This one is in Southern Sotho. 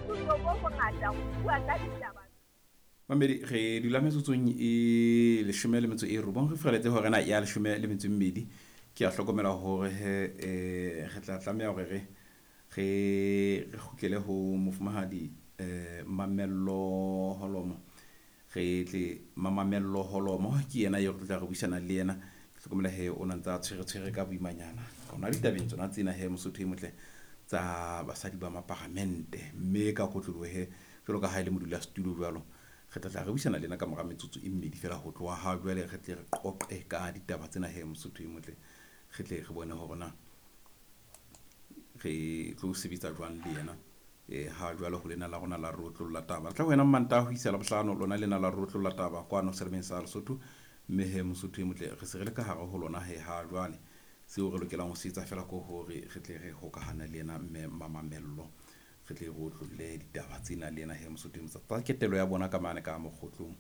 Boikutlo bo bongata ho bua ka ditaba. Mamedi, re dula metsotsong e 19, re fihleletse hore na ya 12. Ke a hlokomela hore he re tla tlameha hore re kgutlele ho mofumahadi Mamello Holomo. Re tle Mamamello Holomo ke yena eo re tla re buisana le yena. Ke hlokomela he o na ntsa tshwere tshwere ka boimanyana hona ditabeng tsona tsena he, Mosotho e motle, tsa basadi ba maparamente, mme ka kotloloho he jwalo ka ha e le modulasetulo jwalo, re tla tla re buisana le yena ka mora metsotso e mmedi fela ho tloha ha jwale, re tle re qoqe ka ditaba tsena he, Mosotho e motle, re tle re bone hore na re tlo sebetsa jwang le yena. Ha jwale ho lena la rona la re otlolla taba, re tla ho wena Mantaha ho isa Labohlano, lona lena la re otlolla taba kwano selemeng sa Lesotho. Mme he Mosotho e motle, re se re le ka hare ho lona he ha jwale. Seo re lokelang ho se etsa fela ko hore re tle re hokahane le yena mme Mamamello, re tle re otlolle ditaba tsena le yena he, Mosotho e motle, tsa ketelo ya bona ka mane ka mokgotlong.